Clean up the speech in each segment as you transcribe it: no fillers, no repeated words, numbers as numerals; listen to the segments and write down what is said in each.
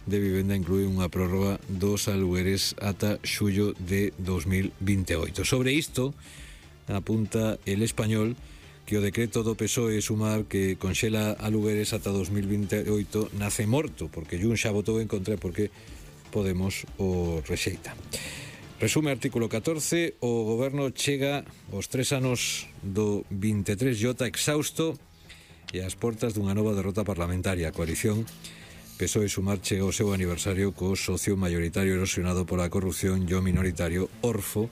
de Vivenda inclúe unha prórroga dos alugueres ata xullo de 2028. Sobre isto, apunta El Español que o decreto do PSOE Sumar que conxela alugueres ata 2028 nace morto, porque Jun xa votou en contra porque Podemos o rexeita. Resume artículo 14, o goberno chega aos 3 anos do 23J exhausto e ás portas dunha nova derrota parlamentaria. A coalición PSOE Sumar chega ao seu aniversario co socio maioritario erosionado pola corrupción e o minoritario orfo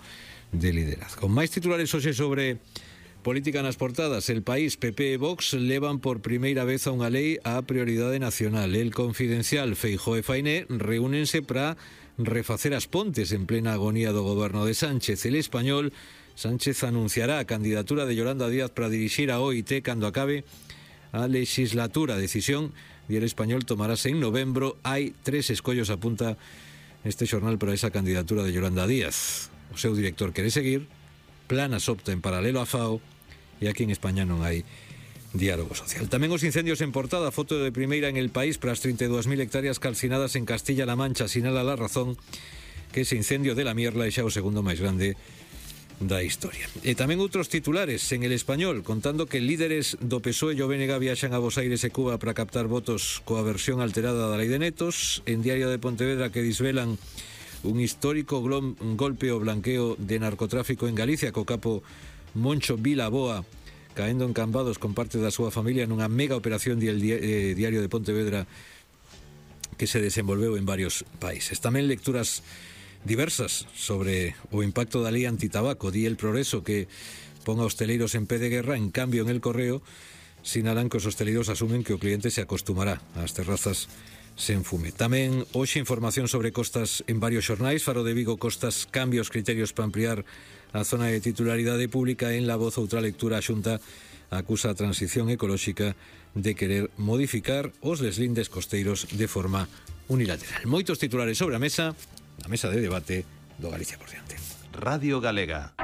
de liderazgo. Máis titulares hoxe sobre política nas portadas. El País, PP e Vox levan por primeira vez a unha lei á prioridade nacional. El Confidencial, Feijóo e Fainé reúnense para refacer as pontes en plena agonía do goberno de Sánchez. El Español, Sánchez anunciará a candidatura de Yolanda Díaz para dirixir a OIT cando acabe a legislatura. Decisión de El Español tomarase en novembro. Hai 3 escollos, apunta este xornal, para esa candidatura de Yolanda Díaz. O seu director quere seguir, Planas opta en paralelo a FAO, e aquí en España non hai diálogo social. Tamén os incendios en portada, foto de primeira en El País para as 32.000 hectáreas calcinadas en Castilla-La Mancha. Sinala La Razón que ese incendio de la Mierla é xa o segundo máis grande da historia. E tamén outros titulares en El Español contando que líderes do PSOE e o BNG viaxan a Bos Aires e Cuba para captar votos coa versión alterada da Lei de Netos. En Diario de Pontevedra que desvelan un histórico golpe o blanqueo de narcotráfico en Galicia co capo Moncho Vilaboa caendo en Cambados con parte da súa familia nunha mega operación del Diario de Pontevedra que se desenvolveu en varios países. Tamén lecturas diversas sobre o impacto da lei antitabaco. Di El Progreso que pon a hosteleiros en pé de guerra, en cambio en El Correo sinalan que os hosteleiros asumen que o cliente se acostumará ás terrazas sen fume. Tamén hoxe información sobre costas en varios xornais. Faro de Vigo, Costas cambia os criterios para ampliar a zona de titularidade pública. En La Voz, outra lectura, a Xunta acusa a Transición Ecolóxica de querer modificar os deslindes costeiros de forma unilateral. Moitos titulares sobre a mesa, na mesa de debate do Galicia por diante. Radio Galega.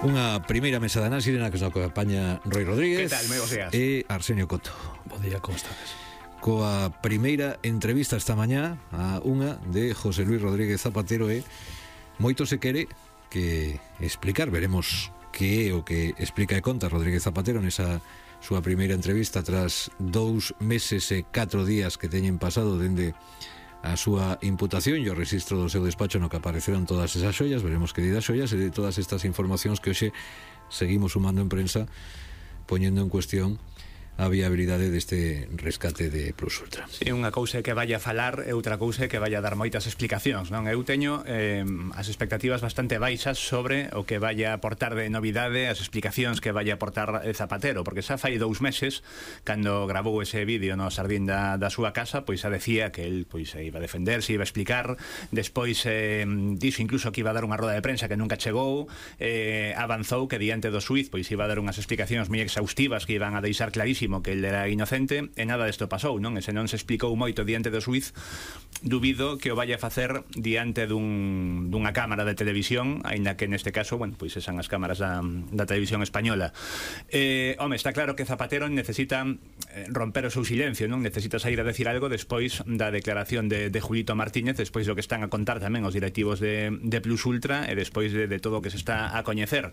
Unha primeira mesa de análise na que nos acompaña Roi Rodríguez. Que tal, moi bos días. E Arsenio Coto. Bo día, como estades? Coa primeira entrevista esta mañá a unha de José Luis Rodríguez Zapatero e moito se quere que explicar. Veremos que é o que explica e conta Rodríguez Zapatero nesa súa primeira entrevista tras 2 meses e 4 días que teñen pasado dende a súa imputación e o registro do seu despacho no que apareceron todas esas xoias. Veremos que di das xoias e de todas estas informacións que hoxe seguimos sumando en prensa, poñendo en cuestión a viabilidade deste rescate de Plus Ultra. Sí, unha cousa é que vaya a falar e outra cousa é que vaya a dar moitas explicacións, non? Eu teño as expectativas bastante baixas sobre o que vaya a aportar de novidade, as explicacións que vaya a aportar Zapatero, porque xa fai 2 meses cando gravou ese vídeo no Sardín da súa casa, pois xa decía que el pois se iba a defender, se iba a explicar. Despois dixo incluso que iba a dar unha roda de prensa que nunca chegou. Avanzou que diante do xuiz pois iba a dar unhas explicacións moi exhaustivas que iban a deixar clarísimo que ele era inocente, e nada desto pasou, non? E se non se explicou moito diante do xuiz, dubido que o vaya a facer diante dunha cámara de televisión, aínda que neste caso, bueno, pois esan as cámaras da televisión española. Home, está claro que Zapatero necesita romper o seu silencio, non? Necesita sair a decir algo despois da declaración de Julito Martínez, despois do que están a contar tamén os directivos de Plus Ultra e despois de todo o que se está a coñecer.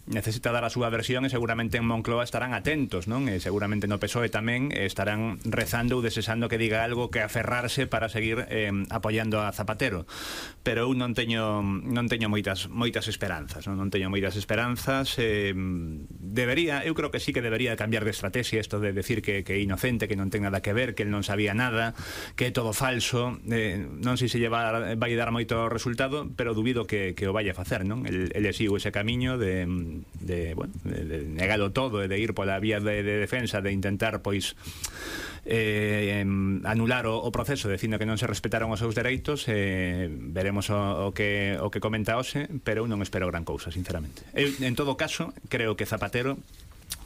Necesita dar a súa versión e seguramente en Moncloa estarán atentos, non? E seguramente no PSOE tamén estarán rezando ou desexando que diga algo que aferrarse para seguir apoiando a Zapatero. Pero eu non teño moitas esperanzas, non teño moitas esperanzas. Eu creo que sí que debería cambiar de estrategia isto de decir que é inocente, que non ten nada que ver, que el non sabía nada, que é todo falso. Non sei se vai dar moito resultado, pero dubido que o vaya a facer, non? El sigo ese camiño de negalo todo e de ir pola vía de defensa, de intentar pois anular o proceso dicindo que non se respetaron os seus dereitos. Veremos o que comenta hoxe, pero eu non espero gran cousa, sinceramente. En todo caso, creo que Zapatero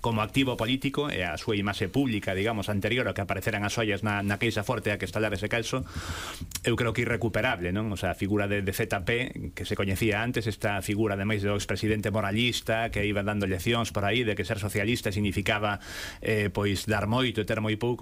como activo político e a súa imaxe pública, digamos, anterior a que apareceran as ollas na queixa forte a que estalar ese calzo, eu creo que irrecuperable, non? O sea, a figura de ZP, que se coñecía antes, esta figura ademais do expresidente moralista que iba dando leccións por aí de que ser socialista significaba pois dar moito e ter moi pouco,